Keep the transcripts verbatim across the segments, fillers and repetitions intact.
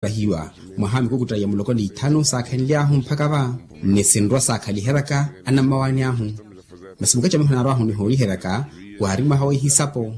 Vahiwa mwaha a mikukutta ya muloko ni ithanu saakhenly'ahu mpakha va ni sinrwa saakhaliheryaka anammawaani ahu. Masi mukacamiho naarw'ahu nihooliheryaka waari mwaha wa ihisapo.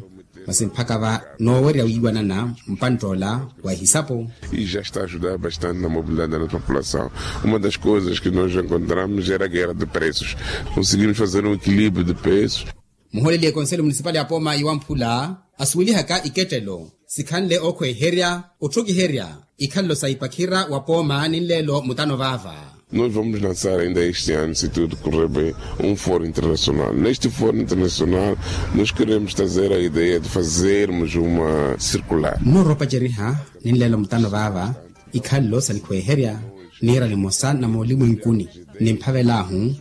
Masi mpakha va noowerya wiiwanana mpantt'ola wa ihisapo. E já está a ajudar bastante na mobilidade da nossa população. Uma das coisas que nós encontramos era a guerra de preços. Conseguimos fazer um equilíbrio de preços. Muhooleli ekonselo munisipali ya pooma iwamphula asuwelihaka ikettelo sikhanle ookhweeherya otthokiherya ikhalelo sa ipakhira wa pooma ni nleelo mutano vaava. Nós vamos lançar ainda este ano, se tudo correr bem, um fórum internacional. Neste fórum internacional, nós queremos trazer a ideia de fazermos uma circular. Nnooroopaceriha ni nleelo mutano vaava ikhalelo sa nikhweeherya niira nimosa na moolimwenkuni nimphavel'ahu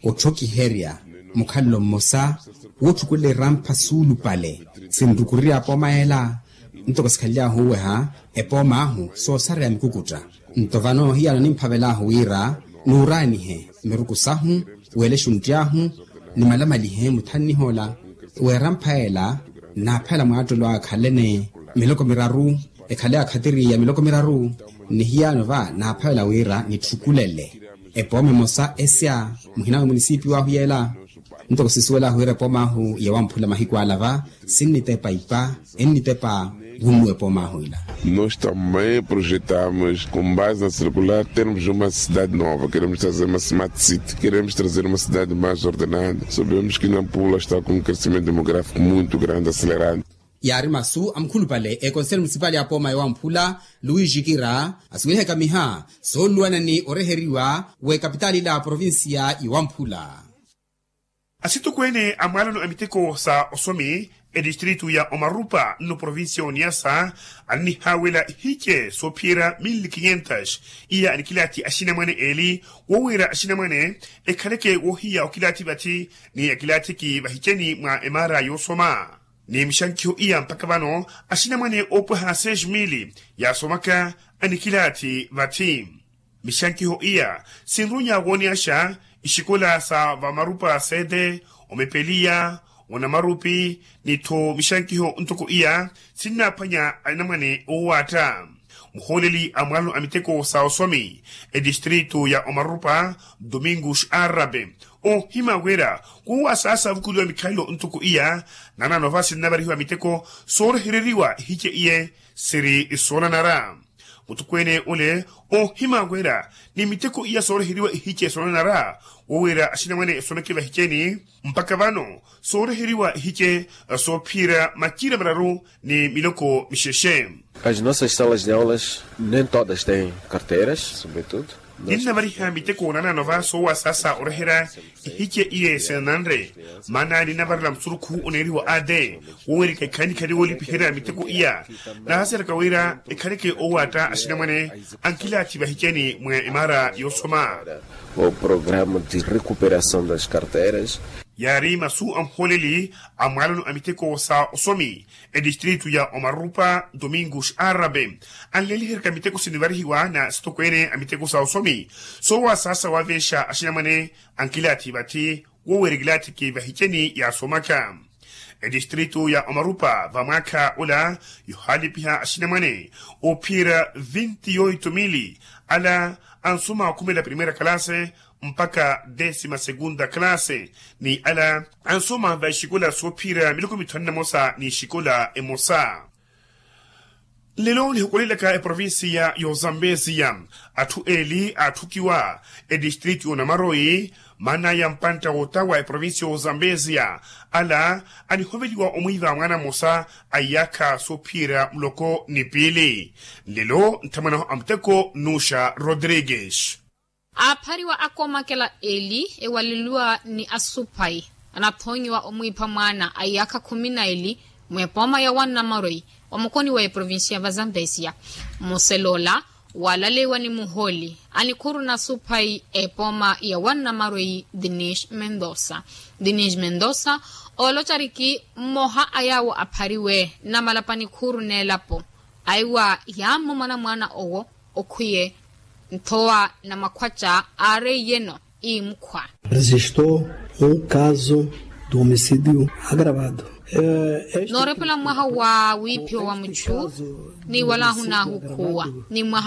otthokiherya mukhalelo mmosa wootthukulela erampha suulupale sinrukurirya apooma ela. Ntoko sikhanly'ahu oweha epooma ahu soosareya mikukutta. Nto vano hiyano nimphavel'ahu wira nuuraanihe miruku sahu weele exuntti ahu nimalamalihe muthanniha ola w'erampha ela. Naaphela mwaattelo akhalene miloko miraru ekhale akhatiri ya miloko miraru ni hiyano va naaphavela wira nitthukulele epooma emosa esya muhina wa munisipiyu ahu yeela. Ntoko sisuwel'ahu wira epooma ahu yawamphula mahiku ala va sinnitepa ipa ennitepa wunnuwa epooma ahu ila. Nós também projetamos com base na circular termos uma cidade nova, queremos trazer uma smart city, queremos trazer uma cidade mais ordenada. Sabemos que nampula está com um crescimento demográfico muito grande acelerado. Yaari masu a mukhulupale ekonselo munisipali ya pooma yawamphula luwisi kira asuwelihaka miha sooluwana ni oreheriwa w'ekapitaali ila a provincia yawamphula. Asitokweene a mwaalano a miteko sa osomi etistritu ya omarupa nno provincia ya oniasa annihaawela ihice soophiyerya mille quinhentas iya anikilaathi axinamwane eeli woowiira axinamwane ekhaleke woohiya okilaathi vathi ni akilaathiki vahiceni mwa emaara yoosoma. Ni mixankiho iya mpakha vano axinamwane oopwaha seis mille yaasomaka anikilaathi vathi. Mixankiho iya sinrunya wooneyaxa ixikola sa vamarupa sede omepeliya onamarupi ni-tho mixankiho ntoko iya sinnaaphwanya anamwane oowaatta. Muhooleli a mwaalano a miteko sa osomi etistritu ya omarupa domingos arabe oohima wira kuuwa saasa avukuliwa mikhalelo ntoko iya nanano va sinnavarihiwa miteko soorehereriwa ihice iye siri soonanara. Mutokweene ole oohima wira ni miteko iya sooreheriwa ihice soonanara wowira axinamwane esomeke vahiceni mpakha vano sooreheriwa ihice soophiyerya maciira mararu ni miloko mixexe. As nossas salas de aulas nem todas têm carteiras sobretudo. Ninnavariha miteko nanano va soowasaasa oreherya ihice iye sinananre maana ninnavarela musurukhu oneeriwa ade wowerika ekhaani khali woolipiherya miteko iya naahaseraka wira ekhaleke oowaatta axinamwane ankilaathi vahiceni mwa emaara yoosoma. O programa de recuperação das carteiras. Yaari masu a muhooleli a mwaalano a miteko sa osomi etistritu ya omarupa domingos arabe anleeliheryaka miteko sinivarihiwa na sitokweene a miteko sa osomi soowasaasa waaveexa axinamwane ankilaathi vathi woweera ekilaathiki vahiceni yaasomaka. Etistritu ya omarupa vamwaakha ola yohaalipiha axinamwane oophiyerya vinti yoito mili ala ansoma okhumela primeira kalase mpakha desima segunda kalase ni ala ansoma va ixikola soophiyerya miloko mithanu na mosa ni ixikola emosa. Nlelo nihukulelaka eprovincia y'ozambezia atthu eeli aatthukiwa etistritu y'onamaroyi maana ya mpantta wootawa eprovincia y'ozambezia ala anihoveliwa omwiiva mwaana mmosa a iyaakha soophiyerya muloko ni piili. Nlelo nthamwanahu a muteko nnuuxa rodrigues. Aaphariwa akomakela eli ewaleliwa ni asuphayi anathonyiwa omwiipha mwaana a iyaakha khumi na eli mwepooma ya wannamaroyi wa mukoni wa eprovincia va zambezia. Mmuseloola waalaleyiwa ni muhooli anikhuru na asuphayi epooma ya wannamaroyi dinish mendosa. Dinish mendosa oolocariki mmoha a yaawo aphariwe namalapa nikhuru n'elapo aiwa yaammo mwanamwaana owo okhwiye nthowa na makhwaca aareiyeno iimukhwa. Registou um caso de homicídio agravado. Noorepela mwaha wa wiiphiwa wa muchu, ni wala ahunaahu khuwa ni mwaha.